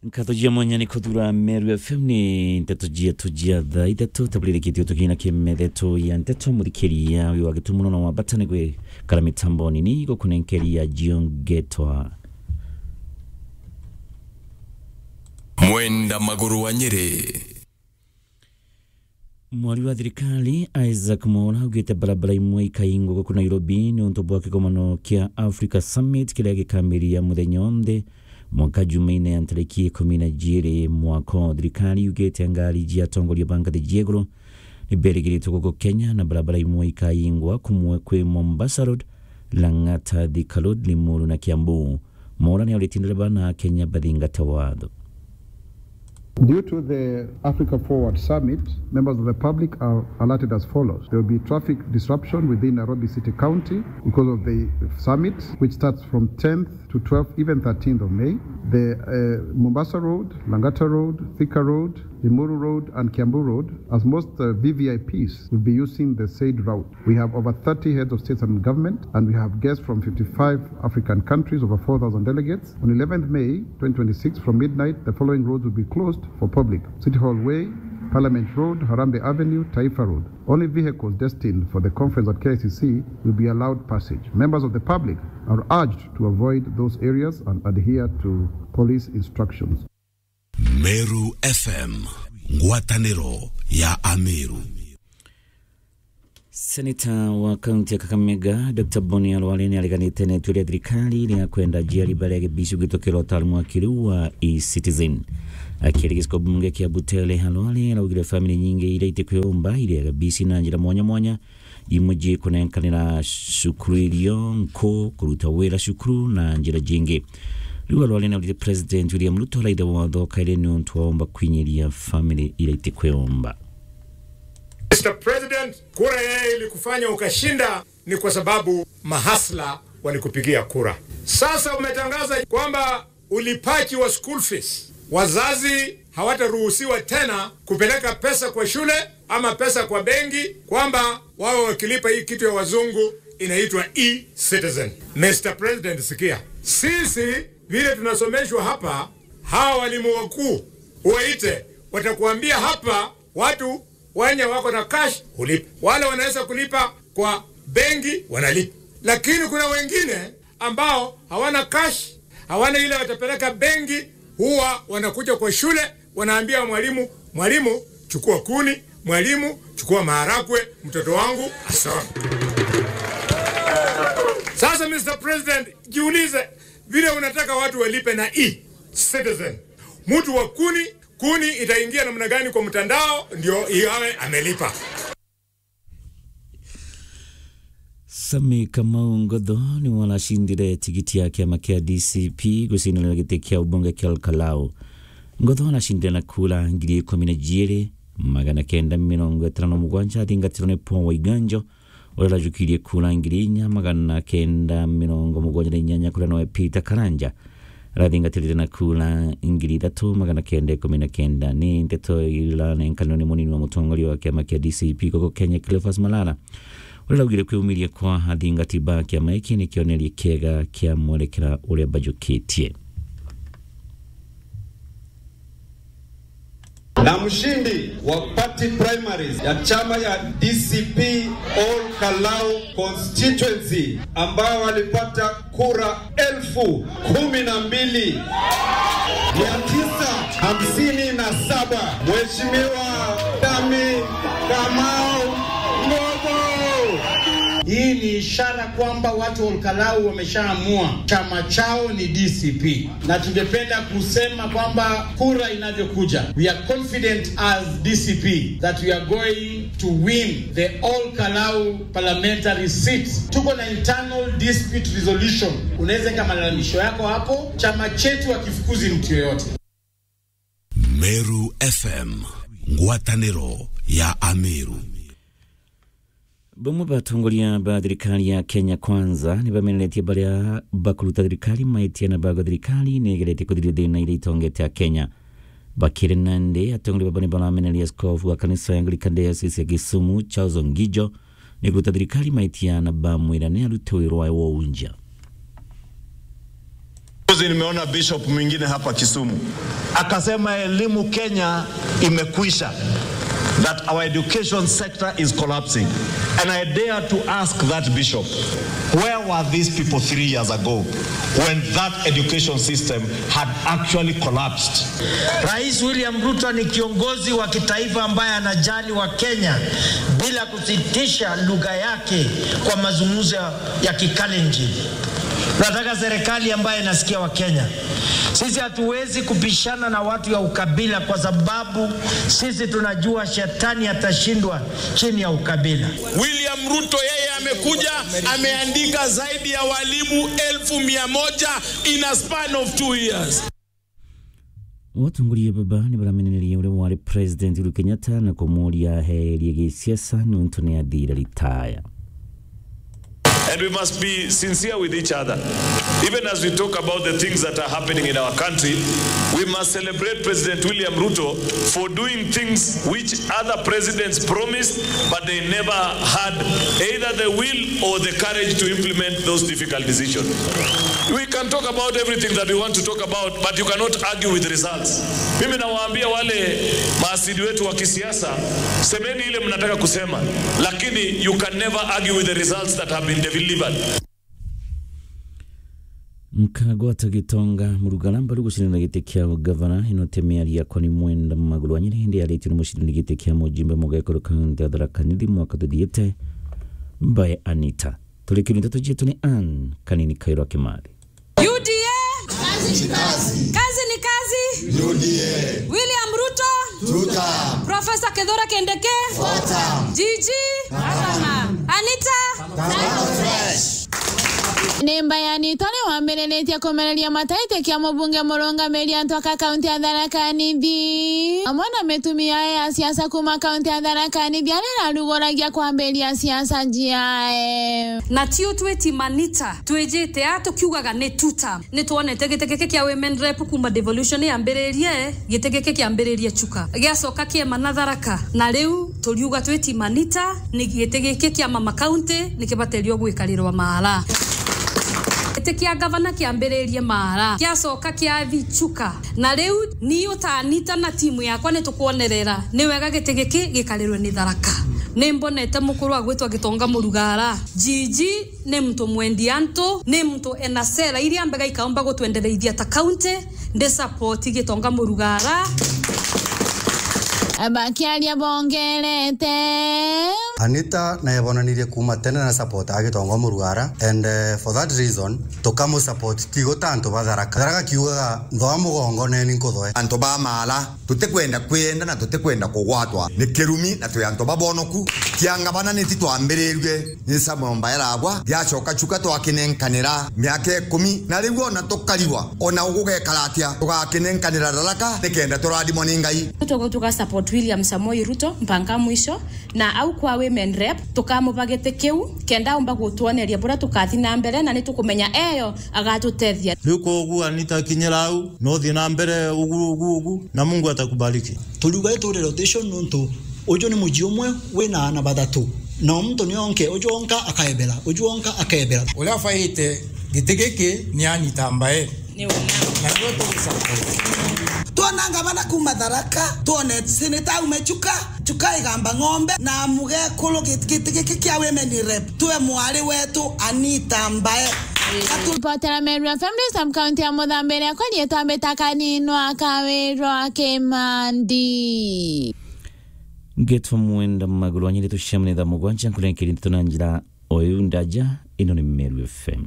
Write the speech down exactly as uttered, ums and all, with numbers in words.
Nkatho jia mwanya ni kuthura Meru F M ni nteto jietu jia thaa ithatu, tabulirikitie utukina kimethetho ya nteto. Muthikiria uyu wa gitumuno na wa bata ni gwikara mitamboni ni gukunenkeria jiongetwa. Mwenda maguru wa Nyeri. Mwari wa thirikari Isaac Mwaura augite barabara imwe ikaingwa guku Nairobi niuntu bwa kigomano kia Africa Summit kiria gikambiria muthenya o nthi mwaka Jumaine ya ntariki ikumi na jiiri mwaka. Thirikari yugite ngari jia atongoria ba ngathi jia iguru ni berigirite guku Kenya na barabara imwe ikaingwa, kumwe kwi Mombasa Road, Lang'ata, Thika Road, Limuru na Kiambu. Mwaura ni aurite ndereba na Akenya bathingate watho. Due to the Africa Forward Summit, members of the public are alerted as follows. There will be traffic disruption within Nairobi City County because of the summit, which starts from tenth to twelfth, even thirteenth of May. The, uh, Mombasa Road, Lang'ata Road, Thika Road, Limuru Road, and Kiambu Road, as most, uh, V V I Ps will be using the said route. We have over thirty heads of states and government, and we have guests from fifty-five African countries, over four thousand delegates. On eleventh May twenty twenty-six, from midnight, the following roads will be closed for public: City Hall Way, Parliament Road, Harambee Avenue, Taifa Road. Only vehicles destined for the conference at K I C C will be allowed passage. Members of the public are urged to avoid those areas and adhere to police instructions. Meru F M, ngwataniro ya Ameru. Seneta wa kaunti ya Kakamega, Doctor Boni Khalwale, ni ariganite na itua ria thirikari ria kwenda aciari baria Kibisi gwitukira utaarimu wa kiriu wa e-Citizen. Akiaria gicigo bunge kia Butere, Khalwale araugire family nyingi iria itikwiyumba iria Kibisi na njira mwanya mwanya, imwe jikunenkanira cukuru irio nku, kuruta wira cukuru na njira jingi. Riu Khalwale ni aurite President William Ruto araithe watho kairi niuntu waumba kwinyiria family iria itikwiyumba. Mister President, kura yeye ilikufanya ukashinda ni kwa sababu mahasla walikupigia kura. Sasa umetangaza kwamba ulipaji wa school fees, wazazi hawataruhusiwa tena kupeleka pesa kwa shule ama pesa kwa benki, kwamba wawe wakilipa hii kitu ya wazungu inaitwa e-Citizen. Mister President, sikia. Sisi vile tunasomeshwa hapa, hawa walimu wakuu uwaite, watakuambia hapa watu wenye wako na cash hulipa. Wale wanaweza kulipa kwa benki wanalipa. Lakini kuna wengine ambao hawana cash, hawana ile watapeleka benki, huwa wanakuja kwa shule, wanaambia mwalimu, "Mwalimu, chukua kuni, mwalimu, chukua maharagwe, mtoto wangu asome." Sasa, Mister President, jiulize, vile unataka watu walipe na e-Citizen, mtu wa kuni, kuni itaingia namna gani kwa mtandao ndio iawe amelipa? Sami Kamau Ngotho niwe uracindire tigiti ya kiama kia D C P gucindanira giti kia ubunge kia Olkalau. Ngotho aracindire na kura ngiri ikumi na jiiri, magana kenda mirongo itano na mugwanja, athingatirwe ni Paul Waiganjo, uria urajukirie kura ngiri inya, magana kenda mirongo mugwanja na inyanya, kuria nawe Peter Karanja arathingatirite na kura ngiri ithatu, magana kenda ikumi na kenda. Ni nteto iranenkanirwe ni munini wa mutongoria wa kiama kia D C P guku Kenya, Cleophas Malala, uria uraugire kwiumiria kwa athingati ba kiama giki ni kioneria kiega kia mwerekera uria bajukitie. Na mshindi wa party primaries ya chama ya D C P Olkalau constituency, ambao walipata kura elfu kumi na mbili, mia tisa hamsini na saba, Mheshimiwa Sami Kamau Ngotho. Hii ni ishara kwamba watu wa Olkalau wameshaamua chama chao ni D C P. Na tungependa kusema kwamba kura inavyokuja, we are confident as D C P that we are going to win the Olkalau parliamentary seat. Tuko na internal dispute resolution. Unaweza weka malalamisho yako hapo, chama chetu hakifukuzi mtu yoyote. Meru F M, ngwataniro ya Ameru. Bamwe ba atongoria ba thirikari ya Kenya Kwanza ni bameneretie baria bakuruta thirikari maitia na bagwa thirikari ni igeretie kuthiria thina iria itongete Akenya. Bakiri nandi, atongoria baba ni barameneria askofu wa kanisa ya Anglican Diocese ya Kisumu, Charles Ongijo, ni kuruta thirikari maitia na bamwira ni arute wira wayo wa unja. Juzi nimeona bishop mwingine hapa Kisumu akasema elimu Kenya imekwisha, that our education sector is collapsing. And I dare to ask that bishop, where were these people three years ago when that education system had actually collapsed? Rais William Ruto ni kiongozi wa kitaifa ambaye anajali wa Kenya bila kusitisha lugha yake kwa mazungumzo ya Kikalenjin. Tunataka serikali ambayo inasikia Wakenya. Sisi hatuwezi kupishana na watu ya ukabila, kwa sababu sisi tunajua shetani atashindwa chini ya ukabila. William Ruto yeye amekuja, ameandika zaidi ya walimu elfu mia moja in a span of two years. Atongoria baba ni baramenereria uria wari President Uhuru Kenyatta na kumuuria aheerie gisiasa niuntu ni athire ritaya. And we must be sincere with each other. Even as we talk about the things that are happening in our country, we must celebrate President William Ruto for doing things which other presidents promised, but they never had either the will or the courage to implement those difficult decisions. We can talk about everything that we want to talk about, but you cannot argue with results. Mimi nawaambia wale maasidi wetu wa kisiasa, semeni ile mnataka kusema, lakini you can never argue with the results that have been delivered. Nkagwata Gitonga Murugara mbaru gucindana giti kia gavana, ino ti miario yakwa ni Mwenda Maguru wa Nyeri, indi aritwe ni mucindani giti kia mujimbe mugekuru kaunti ya Tharaka Nithi mwaka tuthiite, by Anita. Turi kiundu nteto cietu ni Ann Kanini Kairwa Kimathi. U D A. Kazi ni kazi. Kazi ni kazi. U D A. William Ruto. Two term. Professor Kithure Kindiki. Four term. Gigi. Gavana. Anita. Gavana fresh. Ni mbayani tari wambiriritie kumereria mataiti kia mubunge murungamiri antu aka kaunti ya Tharaka Nithi, amwe na mitumia ya siasa kuma kaunti ya Tharaka Nithi aria araruguragia kwambiria siasa njiae. Na tio twiti Manita, twijite a tukiugaga ni tuta. Ni twonete giti giki kia women rep kuma devolution yambiririe, giti giki kiambiririe Chuka. Giacoka kiema na Tharaka. Na riu turiuga twiti Manita, ni giti giki kia mama county, ni kibaterio gwikarirwa Maara. Giti kia gavana kiambiririe Maara. Giacoka kiathi Chuka. Na riu ni utanita na timu yakwa ni tukwonerera. Ni wega giti giki gikarirwe ni Tharaka. Ni mbonete mukuru wa gwitwa Gitonga Murugara. Gigi ni muntu mwendi antu, ni muntu ena sera iria mbega ikaumba gutwendereithia ta county, ndi support Gitonga Murugara. Bakiaria bongerete. Anita naye bonanirie kuma tene na support a Gitonga Murugara, and, eh, for that reason, tukamu support tigo ta antu ba Tharaka. Tharaka kiugaga, "Nthoa mugongo neni nkuthoe." Antu ba Maara, tutikwenda kwienda na tutikwenda kugwatwa ni kirumi, na twi antu babonoku. Kia ngavana niti twambirirue ni Samuel Mbaeragwa, giacoka Chuka twakinenkanira miaka ikumi, na riu ona tukarigwa, ona ugugekara atia, tugakinenkanira Tharaka nikenda turathimwa ni Ngai. Tugo tuga support William Samoei Ruto mpaka mwisho, na au kwa women rep, tukamuba giti kiu, kenda aumba gutwoneria buria tukathi na mbere, na nitukumenya eyo agatutethia. Riu koguo Anita kinyira au, no uthie na mbere ugu, ugu, ugu, na Mungu atakubariki. Turiuga ituri rotation nontu uju ni muji umwe wina aana bathatu. Na o muntu ni onke, uju onka akaebera, uju onka akaebera. Uria afaite giti giki ni Anita Mbae. Ni wega. Na ndio tugusupport. Twona ngavana kuma Tharaka, twone seneta aume Chuka, Chuka igamba ng'ombe, na mugekuru giti giki kia women rep, twe mwari wetu Anita Mbae. Ripotera Meru F M ni sub county ya Muthambi, akwa rietwa mbita Kaninwa Kawirwa Kimandi. Ngitwa Mwenda Maguru wa Nyeri, tucemania thaa mugwanja nkurenkeri ndeto na njira o iu ndaja. Ino ni Meru F M.